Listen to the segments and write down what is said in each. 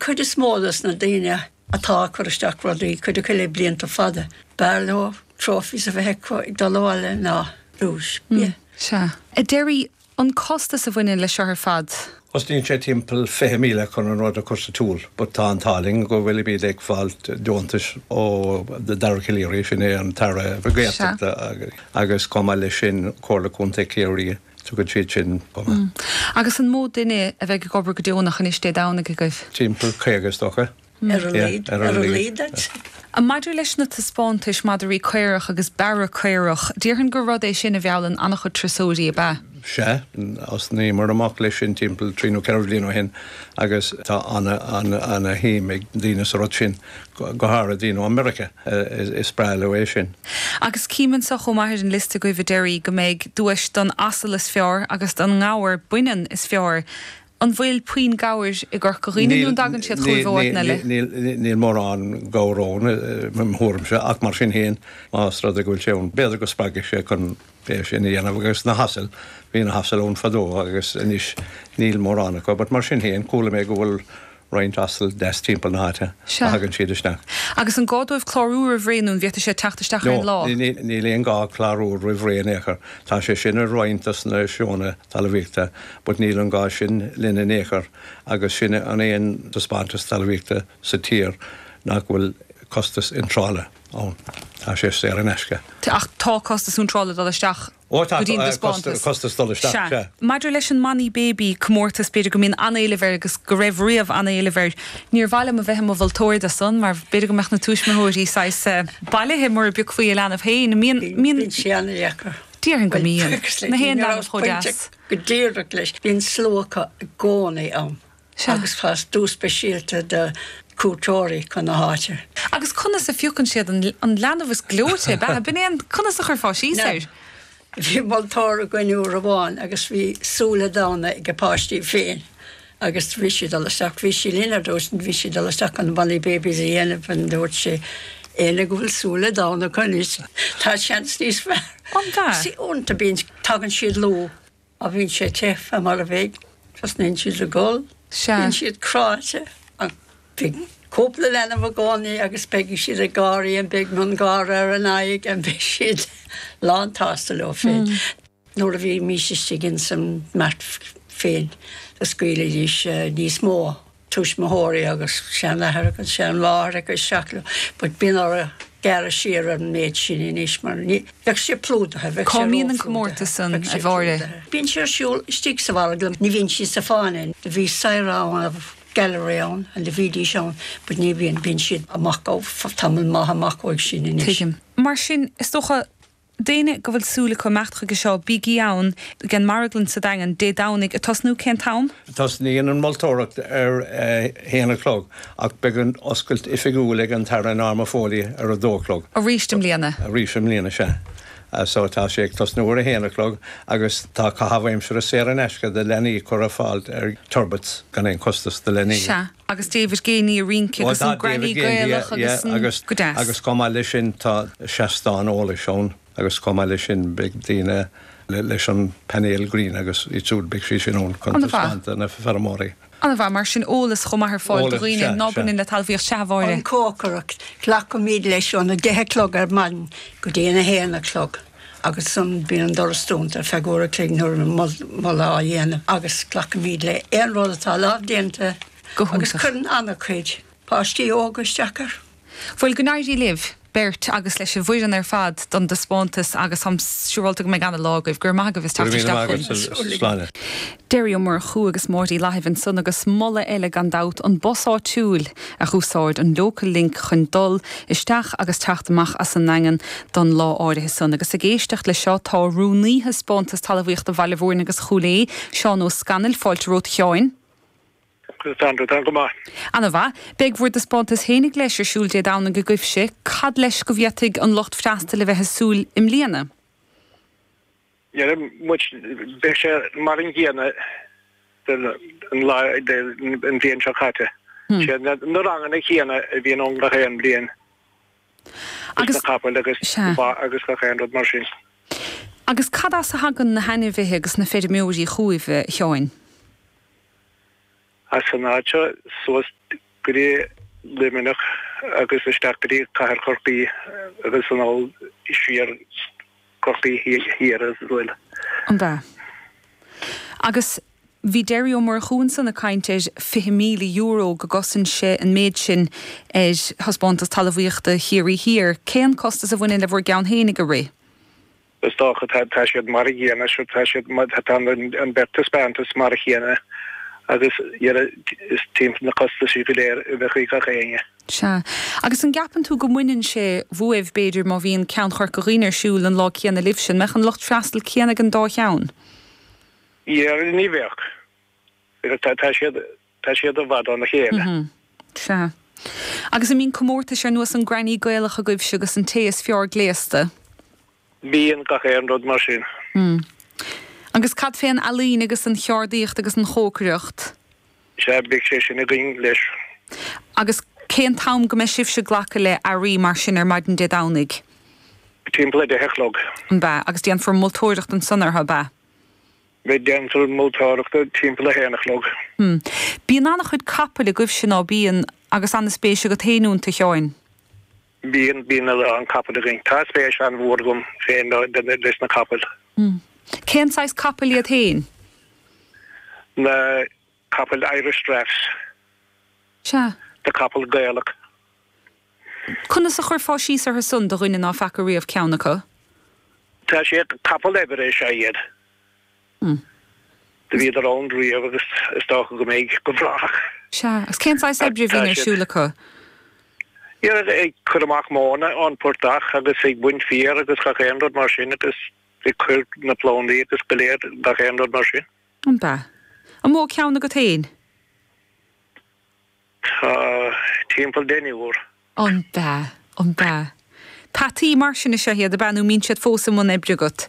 chuid is mó dos na daoine atá ag cur isteach rudaí, cuid acu le blianta fada, b'fhearr leo trophies a bheith acu ag dul abhaile ná duais. Yeah. Sea. A Derry, an costas a bhaineann leis seo ar fad? Cosnaíonn sé timpeall 20,000 chun an rud a chur sa tsiúl but tá an t-ádh linn go bhfuilimid ag fáil deontais ó Dara Calleary, sin é an tAire Gaeltachta agus chomh maith leis sin Comhairle Contae Chiarraí, tugann siad sin chomh maith. Agus an mó duine a bheidh ag obair go deonach anois Dé Domhnaigh agaibh? Timpeall 50 is dócha. Ar a laghad, ar a laghad. Maidir leis na taispeántais madraí caorach agus bearra caorach, déarfainn gur rud é sin a mheallann an-chuid turasóirí, ab ea? Sea, thosnaíomar amach leis sin timpeall trí nó ceithre bhliain ó shin agus tá ana-shuim ag daoine sa rud sin, go háirithe daoine ó Meiriceá, is breá leo é sin. Agus cím anseo chomh maith ar an liosta agaibh, a Derry, go mbeidh duais don asal is fearr agus don ngabhar baineann is fearr. An bhfuil puinn gabhair i gCorca Dhuibhne nó an dtagann siad chugaibh ó áiteanna eile? Níl mórán gabhar ann, i mo thuairimse, ach mar sin féin, más rud é go bhfuil sé ann, b'fhéidir go spreagfaidh sé chun é sin a dhéanamh. Agus na hasail, bhí na hasail ann fadó agus anois níl mórán acu, but mar sin féin, chuala mé go bhfuil roinnt asal deas timpeall na háite a thagann siad isteach. Agus an gá dóibh clárú roimh ré nó an bhféadfaidh siad teacht isteach ar an lá? No, níl aon gá clárú roimh ré in aon chor. Tá sé sin ar roinnt dos na seónna talmhaíochta but níl an gá sin linn in aon chor agus sin an aon taispeántas talmhaíochta sa tír nach bhfuil costas iontrála ann. Tá sé saor in aisce. Ach tá costas iontrála dul isteach Ó tá, go dtí an taispeántas. costas dul isteach, Sea. sea. Maidir leis an mBonny Baby comórtas, b'fhéidir go mbíonn an-éileamh air agus go raibh riamh an-éileamh air. Níor mhaith liom a bheith i mo mholtóir dó san mar b'fhéidir go mbeadh na tuismitheoirí saghas bailithe mura bpiocfaí a leanbh féin. Mbíonn, mbíonn. Bíonn sé an-deacair. Déarfainn go mbíonn. Na haon leanbh chomh deas. Go díreach leis. Bíonn slua acu i gcónaí ann. Sea. Agus tá duais speisialta do chuairteoirí chun na háite. Agus conas a phiocann siad an an leanbh is gleoite, ab ea? B'in é an, conas a chuirfeá síos Now, air? bhí moltóir againn uair amháin agus bhí súile donna ag a páistí féin agus bhí sí ag dul isteach, bhí sí linn ar dtús, bhí sí ag dul isteach chun Bonny Babies a dhéanamh and dúirt sí, éinne go bhfuil súile donna acu anois, tá seans níos fearr. An ea? See, uaireanta bíonn, tagann siad luath. Má bhíonn sé te fé mar a bheidh, tosnaíonn siad ag gol, Sea. bíonn siad cráite, ach beidh cúpla leanbh i gcónaí agus beidh siad ag gáirí and beidh miongháire ar a n-aghaidh and beidh siad lán-tsásta leo féin. Nuair a bhímís istigh ins an mart féin, do scaoilidís níos mó. tuismitheoirí agus seanathair agus seanmháthair acu isteach leo but bíonn orthu gearradh siar ar an méid sin anois mar ní, bheadh sé plódaithe, bheadh Cá sé mbíonn an róphlódaithe, comórtas san, bheadh a sé Mháire? plódaithe. Bíonn sé ar siúl istigh sa mhargadh, ní bhíonn siad sa fáinne. Do bhí saoire ann, gallery ann and do bhídís ann but ní bhíonn, bíonn siad amach ó, tamall maith amach uaidh sin anois. Tuigim. Mar sin, is dócha, D'éinne go bhfuil súil acu imeacht chuige seo, bígí ann ag an Marglann sa Daingean, Dé Domhnaigh, ag tosnú cén t-am? Tosnaíonn an mholtóireacht ar a haon a chlog ach beidh an oscailt oifigiúil ag an tAire Norma Foley ar a dó a chlog. Arís i mbliana? Arís i mbliana, sea. So tá sé ag tosnú ar a haon a chlog agus tá caitheamh aimsire saor in aisce do leanaí curtha ar fáil ar Turbitt's gan aon chostas do leanaí. Sea. Agus David Geaney ag rince agus an Granny Gaelach agus an. Go deas. Agus chomh maith leis sin tá seastán eolais ann agus chomh maith leis sin beidh daoine leis an painéal gréine agus iad siúd, beidh siad sin ann chun taispeáint do na feirmeoirí. An-mhaith. Mar sin eolas chomh maith ar fáil do dhaoine ná baineann le talmhaíocht. Sea, a Mháire. An cócaireacht, glacaimid leis óna deich a chlog ar maidin go dtí an a haon a chlog agus ansan bíonn an doras dúnta ar feadh uair a chloig nuair a moladh á dhéanamh agus glacaimid le aon rud atá lámhdéanta Go agus hiontach. cuireann an-chuid páistí óga isteach air. Bhuel, go n-éirí libh beirt agus leis an bhfoireann ar fad don dtaispeántas agus táim siúrálta go mbeidh ana-lá agaibh. Go raibh maith agaibh as Go teacht raibh míle isteach maith chugainn. agat, a Shláine. Derry Ó Murchú agus Máire Uí Fhlaithimh ansan agus moladh eile gan dabht, an bus áitiúil a dh'úsáid, an Local Link chun dul isteach agus teacht amach as an nDaingean don lá áirithe san. Agus ag éisteacht leis seo tá Rúnaí Thaispeántas Talmhaíochta Bhaile Mhúirne agus Chúil Aodha, Seán Ó Scanaill, fáilte romhat a Sheáin. Sandra, Tá go maith. Ana-mhaith. Beidh bhur dtaispeántas fhéinig leis ar siúl Dé Domhnaigh agaibhse. Cad leis go bhféadfaidh an lucht freastail a bheith ag súil i mbliana? Deireann muid, beidh sé mar an gcéanna don lá, an bhliain seo caite. Sé na ranganna céanna a bhíonn ann gach aon bhliain. Agus na capaill agus sea. ba agus gach aon rud mar sin. Agus cad as a thagann na hainmhithe agus na feirmeoirí chugaibh, a Sheáin? As an áit seo suas. Go dtí Luimneach agus isteach go dtí Cathair Chorcaí agus anall siar Corcaigh Thiar as well. An ea? Agus bhí Derry Ó Murchú ansan ag caint ar €20,000 go gcosain sé an méid sin ar Thaispeántas Talmhaíochta Chiarraí Thiar. Cén costas a bhaineann le bhur gceann fhéinig a rith? Is dócha tá siad mar a gcéanna, tá siad, tá an bheirt taispeántas mar a chéanna agus is timpeall na costaisí go léir a bheadh ag gach éinne. Sea. Agus an gceapann tú go mbaineann sé uaibh, b'fhéidir, má bhíonn ceann Chorca Dhuibhne ar siúl an lá céanna libhse, an mbeadh an lucht freastail céanna ag an dá cheann? Yeah, ní bheadh. Tá siad, tá siad i bhfad óna chéile. Sea. Agus an mbíonn comórtais ar nós an Granny Gaelach agaibhse agus an té is fearr gléasta? Bíonn gach aon rud mar sin. Agus cad fén ealaín agus an cheardaíocht agus an chócaireacht? Sea, beidh sé sin againn leis. Agus cén t-am go mbeidh sibhse ag glacadh le earraí mar sin ar maidin Dé Domhnaigh? Timpeall 10 a chlog. An b'ea? Agus déanfar moltóireacht ansan orthu, ab ea? Beidh déanfar moltóireacht timpeall 1 a chlog. Bíonn an-chuid capaill agaibhse, ná bíonn, agus an-spéis agat féin iontu, a Sheáin? Bíonn, bíonn a lán capall againn. Tá spéis an-mhór agam féin leis na capaill. Cén saghas capaill iad féin? Na capaill Irish Draughts. Sea. Na capaill Gaelach. Conas a chuirfeá síos orthu san do dhuine ná feaca riamh ceann acu? Tá siad, capaill oibre is ea iad. Do bhíodar ann riamh agus is dócha go mbeidh go brách. Sea, agus cén saghas oibre a bhíonn ar siúl acu? Iad ag cur amach móna ón portach agus ag baint féir agus gach aon rud mar sin agus ag cur na plandaí agus go léir gach aon rud mar sin. An b'ea? An mó ceann agat féin? Tá timpeall deichniúr. An b'ea? An b'ea? Peataí mar sin is ea iad, ab ea, nó mbíonn siad fós i mbun oibre agat?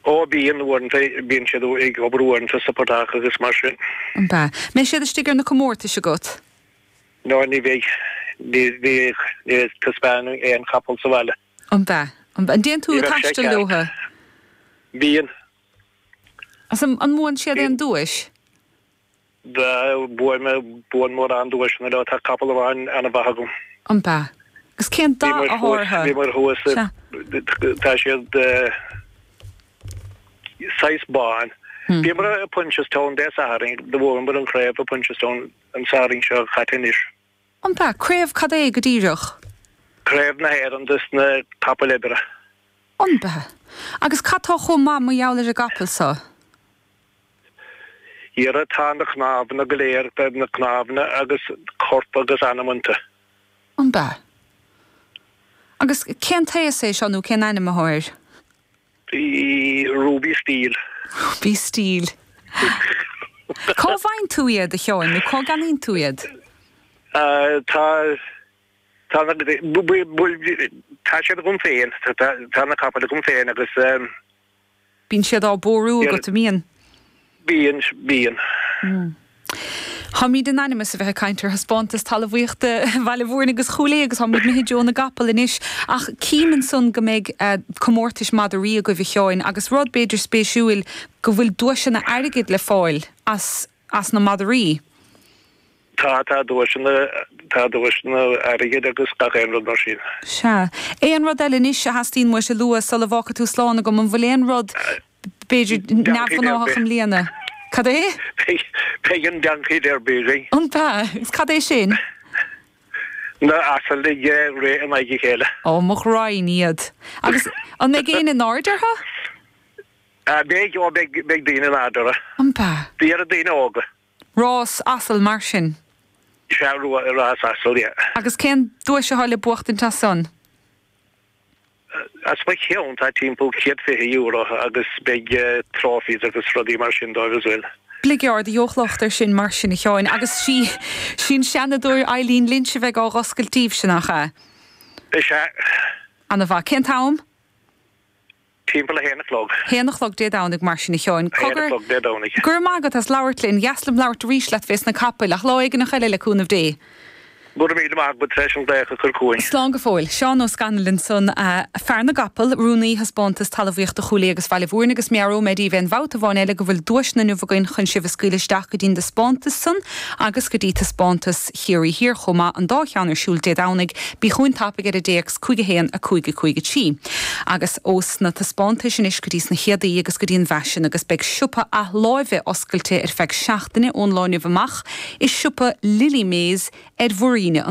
Ó, bíonn, uaireanta, bíonn siad ag obair uaireanta sa portach agus mar sin. An b'ea? Mbeidh siad istigh ar na comórtais agat? No, ní bheidh. Ní, ní, ní taispeánfainn aon chapall sa bhaile. An b'ea? An b'ea? An dtéann tú Ní ag bheadh sé taisteal ceart. leotha? Bíonn. Agus an, an mbuann siad aon duais? Bhuaigh mé, buann mórán duaiseanna leo, tá capall amháin ana-mhaith agam. An b'ea? Agus cén dath atá orthu? Bhíomar thuas, tá siad saghas bán. Bhíomar i Punchestown Dé Sathairn, do bhuamar an chraobh i Punchestown an Satharn seo caite anois. An b'ea? Craobh cad é go díreach? Craobh na hÉireann dos na capaill oibre. An b'ea? Agus cad tá chomh maith mar gheall ar an gcapall so? Dhera tá na cnámhanna go léir, na cnámhanna agus corp agus anam iontu. An b'ea? Agus cén t-aos é seo nó cén ainm atá air? Ruby Steel. Ruby Steel. Cá bhfaigheann tú iad, a Sheáin, nó cá gceannaíonn tú iad? Tá, tá na, tá siad agam féin, tá na capaill agam féin agus. Bíonn siad á bpórú agat, an mbíonn? Bíonn, bíonn. Táimid in ainm is a bheith ag caint ar thaispeántas talmhaíochta Bhaile Mhúirne agus Chúil Aodha agus táimid imithe i dtreo na gcapall anois. Ach cím ansan go mbeidh comórtais madraí agaibh, a Sheáin, agus rud b'fhéidir spéisiúil, go bhfuil duaiseanna airgid le fáil as as na madraí. Tá, tá duaiseanna, tá duaiseanna airgid agus gach aon rud mar sin. Sea. Aon rud eile anois a theastaíonn uait a lua sula bhfágfaidh tú slán agam? An bhfuil aon rud, b'fhéidir, neamhghnáthach i mbliana? Cad é? Beidh an Donkey Derby againn. An b'ea? Agus cad é sin? Na asail ag rith in aghaidh a chéile. Ó, mo ghraidhin iad. Agus an mbeidh éinne in airde orthu? Beidh, ó beidh, beidh daoine in airde orthu. An b'ea? D'iarraidh daoine óga. Rás asal mar sin? Sea, rás asal, yeah. Agus cén duais atá le buachtaint as san? As mo cheann tá timpeall €120 agus beidh trophies agus rudaí mar sin dóibh as well. Bligeard, a gheobhadh locht air sin mar sin, a Sheáin. Agus sí sí an Seanadóir Eileen Lynch a bheidh á dh'oscailt daoibhse, nach ea? Is ea. Ana mhaith. Cén t-am? Timpeall a haon a chlog. Haon a chlog Dé Domhnaigh mar sin a Sheáin. A haon a chlog Dé Domhnaigh. Go raibh maith agat as labhairt linn. Dheas liom labhairt arís leat fés na capaill, ach lá éigineach eile le cúnamh Dé. Go raibh míle maith agat tar éis an glaoch a chur chugainn. Slán go fóill. Seán Ó Scanaill ansan, fear na gcapall, rúnaí Thaispeántas Talmhaíochta Chúil Aodha agus Bhaile Mhúirne agus meabhróidh mé daoibh aon bhabhta amháin eile go bhfuil duaiseanna inniu againn chun sibh a scaoileadh isteach go dtí'n dtaispeántas san agus go dtí taispeántas Chiarraí Thiar chomh maith, an dá cheann ar siúl Dé Domhnaigh. Bí chugainn tapaidh ar an dtéacs 5 1 5 5 3. Agus ós na taispeántais anois go dtí sna céadaí agus go dtí an bhfaisean agus beidh siopa athláimhe oscailte ar feadh seachtaine ón lá inniu amach i siopa Lily Mays ar Mhuir Fhíona.